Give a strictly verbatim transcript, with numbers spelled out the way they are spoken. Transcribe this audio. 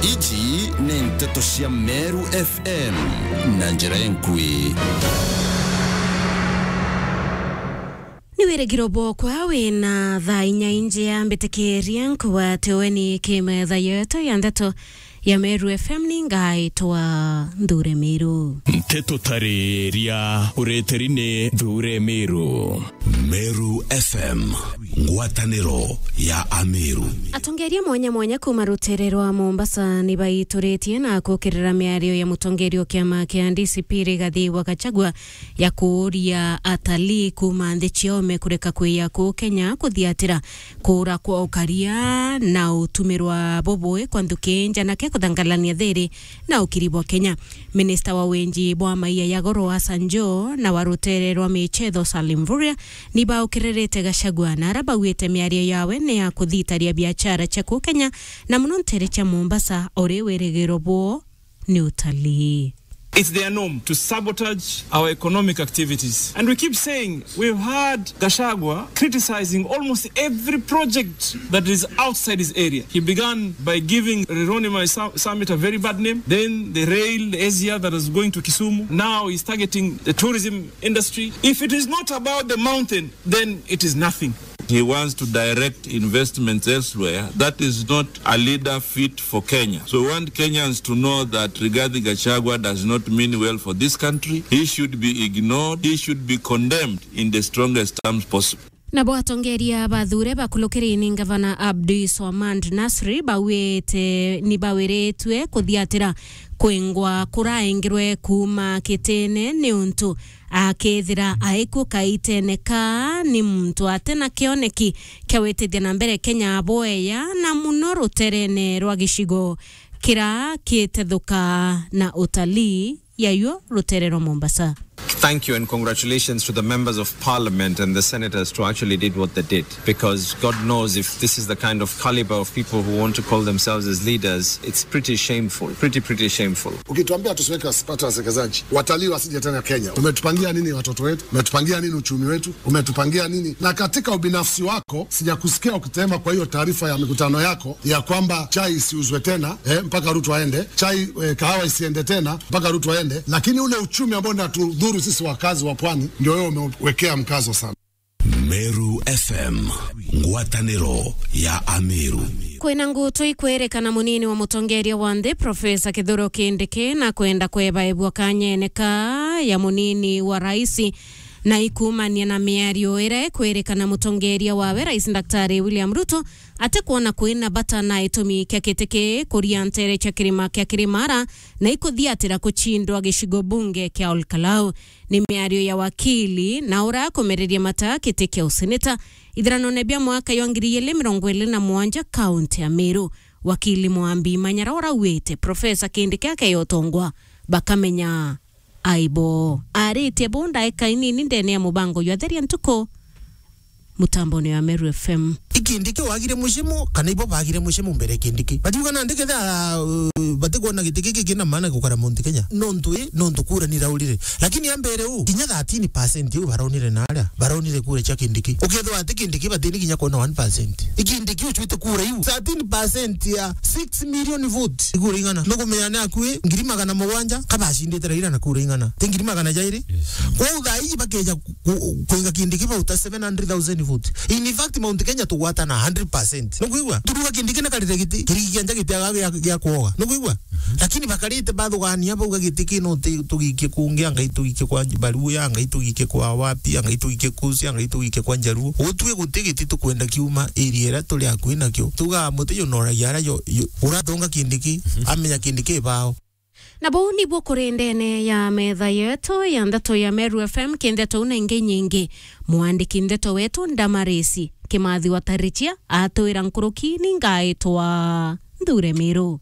Iji ni nteto cia Meru F M na njira enkui. Ni wirigiro bwokwa wina thaa inya injia mbitikiria nkugwate weni ki metha yetu ya nteto ya Meru F M ni ngaitwa Nthure Miru. Nteto tariria ureteri ni Nthure Miru. Meru F M, ngwataniro ya Ameru. Atongeria mwanya mwanya kuma rutere rwa Mombasa ni baituritie na kukirira miario ya mutongeria wa kiama kia D C P Rigathi wa Gachagua ya kuuria atalii kuma nthi cia ome kureka kwiya kuu Kenya kuthiatira kuura kwa ukaria na utumirwa bubui kwa nthuki njanake kuthangalania thiri na ukiri bwa Kenya. Minista wa winji bwa maia ya goro Hassan Joho na wa rutere rwa michetho Salim Mvurya ni baukiririte Gachagua na ara bauite miario yawe ni ya kuthitaria biachara cia kuu Kenya na muno ntere cia Mombasa uri wirigiro bwo ni utalii. It's their norm to sabotage our economic activities. And we keep saying, we've had Gachagua criticizing almost every project that is outside his area. He began by giving Rironi Mai Sa-, Summit a very bad name. Then the rail, the S G R that is going to Kisumu. Now he's targeting the tourism industry. If it is not about the mountain, then it is nothing. He wants to direct investments elsewhere. That is not a leader fit for Kenya. So we want Kenyans to know that Rigathi Gachagua does not mean well for this country. He should be ignored. He should be condemned in the strongest terms possible. Nabo atongeria bathure bakulukiri ni Ngavana Abdi Swamand Nasri bawite ni bawiritwe kuthiatira kwingwa kuraengirwe kuuma kitene ni untu akethira aikwo kaitene ka ni muntu atena kioneki kia witithia na mbere Kenya bweya na muno ruterene rwa gicigo kira kitethuka na utalii yayo rutere rwa Mombasa. Thank you and congratulations to the members of parliament and the senators to actually did what they did, because God knows if this is the kind of caliber of people who want to call themselves as leaders, it's pretty shameful, pretty, pretty shameful. Ukituambia tusiweke wasi-, watu wawekezaji, watalii wasije tena Kenya, umetupangia nini watoto wetu? Umetupangia nini uchumi wetu? Umetupangia nini? Na katika ubinafsi wako, sijakusikia ukitema kwa hiyo taarifa ya mikutano yako ya kwamba chai isiuzwe tena, eh, mpaka Ruto aende, chai, eh, kahawa isiende tena mpaka Ruto aende, lakini ule uchumi ambao unatudhuru sisi wakazi wa pwani ndio wewe umewekea mkazo sana. Meru F M, ngwataniro ya Ameru. Kwina ngutu ikwirikana munini wa mutongeria wa nthi, Profesa Kithure Kindiki, na kwenda kwebaebua kanyene ka ya munini wa raisi, na ikumania na miario iria ikwirikana mutongeria wawe, Rais Daktari William Ruto, atikwona kwina bata na itumi kia kiti ki kuria ntere cia kirima kia Kirimara, na ikuthiatira kuchindwa gicigo bunge kia Ol Kalou. Ni miario ya wakili na ura akumereria mata kiti kia useneta ithiranone bia mwaka jwa ngiri igiri mirongo iri na mugwanja kaunti ya Meru. Wakili Mwambi Manyara ura auite Profesa Kindiki akeya utongwa, bakamenya aibo. Aritie bu ndaika inini ndene ya mubango jwa Theria Ntuku, mutambone wa Meru F M. I Kindiki wagire mucimo, kana ibo bagire mucimo mbere ya Kindiki? Batiuga nandi kethira, uh, batikwona giti giki kina maana gukara Mount Kenya. Nontu i, nontu kura niraurire. Lakini ambere u, kinya thirteen percent iu baronire naria, baronire kura cia Kindiki. Ukethwa ati Kindiki batini kinya kwona one percent. I Kindiki ucwite kura iu. Thirteen percent ya six million vote. Ikura ing'ana? Nukumenya ni akui ngiri magana mugwanja kabacindite Raila na kura ing'ana? Ti ngiri magana jairi? Yes. Kwou thaa iji bakeja ku-, kuiga Kindiki bauta seven hundred thousand vote. In fact, Mount Kenya tugwatana hundred percent. Nukwigua? Turuga Kindiki na karire giti, kirigi kia nja giti aga gia, gia kuoga. Nukwigua? Lakini bakarite bathugania bauga giti kino ti-, tugikie kungi, anga itugikie kwa Baluya, anga itugikie kwa wapi, anga itugikie Kusi, anga itugikie kwa Njaruo. Utue guti giti tukwenda kiuma area iria turi akui nakio. Tugaa muti junoragia aria jo, jo, uratonga Kindiki, amenya Kindiki bao. Na buu nibuo kuri ndene ya metha yetu ya ndeto ya Meru F M, ki ndeto na ingi nyingi. Mwandiki ndeto wetu Ndamarisi Kimathi wa Tarichia atwira nkuruki ni ngaitwa Nthure Miru.